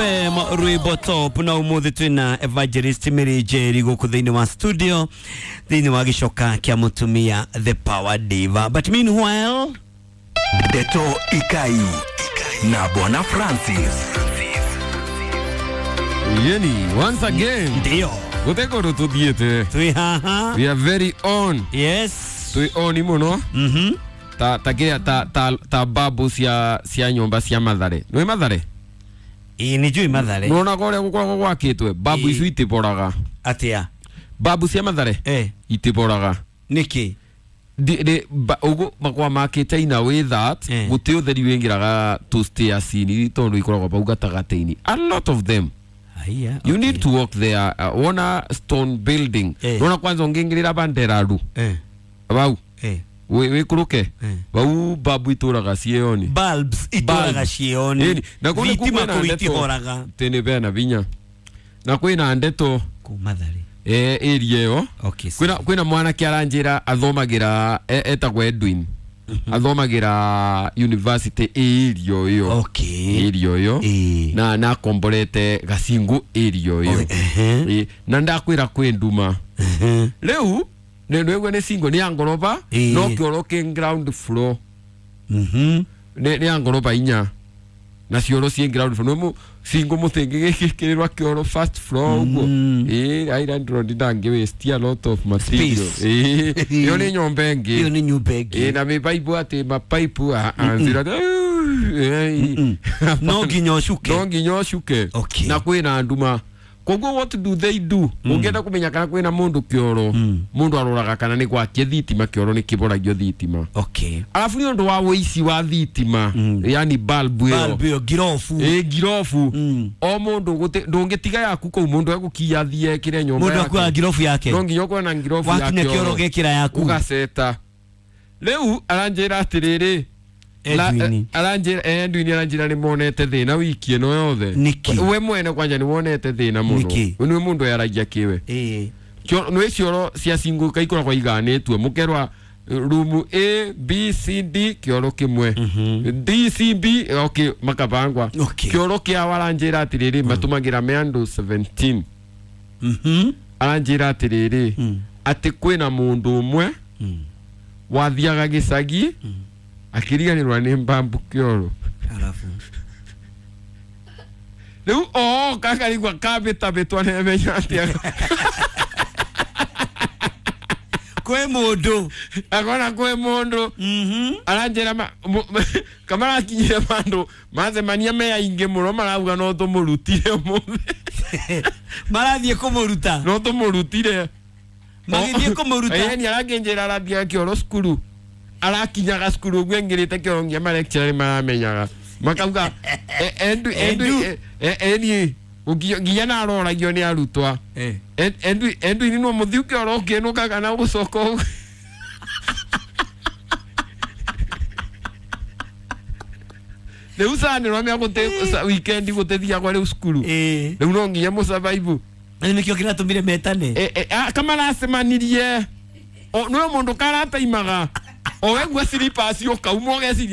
FM rwimbo top na umuthi twina Evangelist Mary Njeri guku thiini wa studio thiini wa gicoka kia mutumia the power diva. But meanwhile, Ndeto Ikai na Bwana Francis. Yeni, once again, ndio gutekå tuthiĩte. Twi haha. We are very on. Yes. Twĩ on mũno. Ta kĩrĩa ta babu cia nyũmba cia Mathare. Nĩ Mathare? Ĩ nĩ njũĩ Mathare. Nĩwonaga ũrĩa gũkoragwo gwakĩtwe babu Ĩ. icio itiboraga. Atia? Babu cia Mathare itiboraga. Nĩkĩ? Ũguo makoragwo makĩte in a way that gũtĩ ũtheri wĩingĩraga tũ stairs-inĩ tondũ ikoragwo bau gatagatĩ-inĩ, a lot of them. Haiya. You need to walk there, wona stone building. Wona kwanza ũngĩingĩrĩra banderaru bau wĩkũrũke bau babu itũraga ciĩoni. Bulbs itũraga ciĩoni. Ĩni, na kũu nĩkuo Thitima kwĩna kũu ndeto. itihoraga. Tene bena vinya na kwĩna ndeto. Kũu Mathare. Area ĩyo. Okay. Kwĩna mwanake aranjĩra athomagĩra etagwo Edwin, athomagĩra university area ĩyo. Area ĩyo. Na akomborete gacingu area ĩyo. Ehe. Ĩ, na ndakwĩra kwĩ nduma. Rĩu nĩgua nĩ single, nĩ ya ngoroba. No kĩoro kĩ ground floor. Nĩ ya ngoroba 4 na cioro ciĩ ground floor. Nĩ single mũthĩngĩ gĩkĩrĩrwa kĩoro first floor ũguo. Ĩ island road ndangĩ waste a lot of material. Space. Ĩ, ĩyo nĩ nyũmba ĩngĩ. Ĩyo nĩ nyũmba ĩngĩ. Ĩ, na mĩbaibũ atĩ mapaipu anzira. No nginya ũcuke. No nginya ũcuke. Okay. Na kwĩna nduma, koguo what do they do? Ũngĩenda kũmenya kana kwĩna mũndũ kĩoro, mũndũ aroraga kana nĩ gwakie thitima kĩoro nĩ kĩboragio thitima. Arabu nĩ ũndũ wa wĩici wa thitima, yani bulb ĩyo. Bulb ĩyo ngirobu. Ĩ, ngirobu. O mũndũ ndũngĩtiga yaku kũu, mũndũ egũkiya athiĩ ekĩre nyũmba Mũndũ yake. akuaga ngirobu yake. No nginya ũkorwo na ngirobu ya Wakinya kĩoro gekĩra yaku. Ũgaceta. Rĩu aranjĩra atĩrĩrĩ, Edwin. Aranjĩra Edwin aranjĩra nĩ monete thĩna wiki ĩno yothe. Nĩkĩ? We mwene kwanja nĩ wonete thĩna mũno. Nĩkĩ? Nĩ mũndũ yaragia kĩwe. Nĩ cioro cia single ikoragwo iganĩtue mũkerwa rumu A B C D kĩoro kĩmwe, D C B, okay, makabangwa. Kĩoro kĩao aranjĩra atĩrĩrĩ matũmagĩra me andũ 17. Aranjĩra atĩrĩrĩ atĩ kwĩna mũndũ ũmwe wathiaga gĩcagi akĩriganĩrwa nĩ mbambu kĩoro. Arabu Rĩu ooka akarigwa kambĩtabĩtwa nemenya atĩa. Kwĩ mũndũ. Akona kwĩ mũndũ. Aranjĩra kamarakinyire bandũ macemania me aingĩ mũno marauga no tũmũrutire ũmũthĩ. Marathiĩ kũmũruta. No tũmũrutire. Magĩthiĩ kũmũruta. Ĩni arakĩnjĩra arathiaga kĩoro cukuru, arakinyaga cukuru ũguo aingĩrĩte kĩoro nginya malecturer nĩ maramenyaga makauga Edu Edu eni nginya naroragio nĩ arutwa. Edu Edwin no mũthiu kĩoro ũkĩnũka kana gũcoka ũguo. Rĩu sanĩrwa mĩa gũte weekend gũtethiagwa rĩu cukuru. Rĩu no nginya mũsurvive. Rĩu nĩkĩo kĩratũmire metane. Kamaracemanirie nĩwe mũndũ karataimaga o wegua slippers ũkauma ũgeciria.